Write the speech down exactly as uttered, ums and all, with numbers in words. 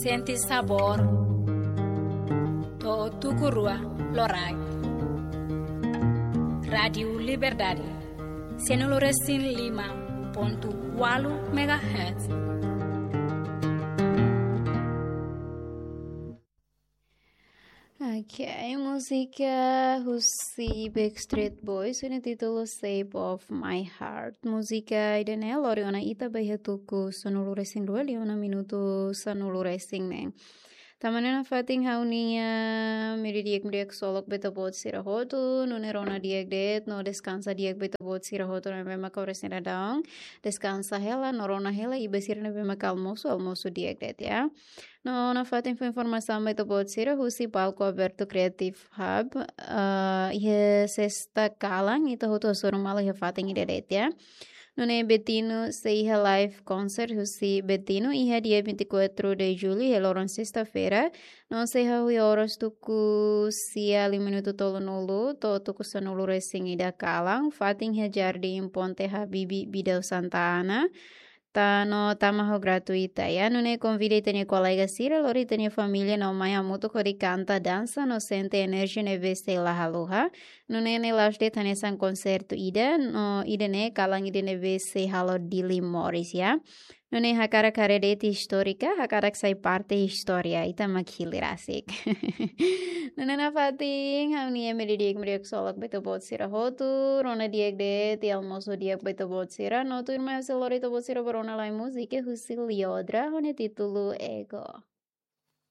Sente sabór. To'o tuku rua loraik. Rádiu Liberdade. Sanulu resin lima pontu ualu megahertz. Ok, múzika husi Backstreet Boys ho títulu Shape of My Heart. Múzika ida-ne'e lori ona ita ba iha tuku sanulu resin rua liu ona minutu sanulu resin neen. Tanba ne'e nafatin ha'u-nia mehi di'ak, mehi di'ak ksolok ba ita-boot sira hotu, nune'e rona di'ak de'it, no deskansa di'ak ba ita-boot sira hotu ne'ebé mak oras ne'e daudaun. Deskansa hela, no rona hela, i ba sira ne'ebé mak almosu, almosu di'ak de'it, ya. No nafatin fó informasaun ba ita-boot sira husi palku abertu Creative Hub, ah, iha sesta kalan, ita hotu hasoru malu iha fatin ida de'it, ya. Nune'e Betino sei iha live concert husi Betino iha dia vinte e quatro de julho, iha loron sesta-feira. No sei hahú iha oras tuku sia liu minutu tolunulu, to'o tuku sanulu resin ida kalan, fatin iha Jardim Ponte Habibie Bidau Santa Ana. Tan, no tama ho gratuita, ya. Nune'e konvida ita-nia kolega sira, lori ita-nia família no mai hamutuk hodi kanta, dansa, no sente enerjia ne'ebé sei la haluha. Nune'e ne'e la'ós de'it hanesan konsertu ida, no ida-ne'e kalan ida ne'ebé sei halo Dili moris, ya. Nune'e hakarak haree de'it histórika, hakarak sai parte istória, ita mak hili rasik. Nune'e nafatin, ha'u-nia mehi di'ak, mehi di'ak ksolok ba ita-boot sira hotu, rona di'ak de'it, i almosu di'ak ba ita-boot sira, no tuirmai ha'u sei lori ita-boot sira ba rona lai múzika husi Liodra, ho títulu Ego.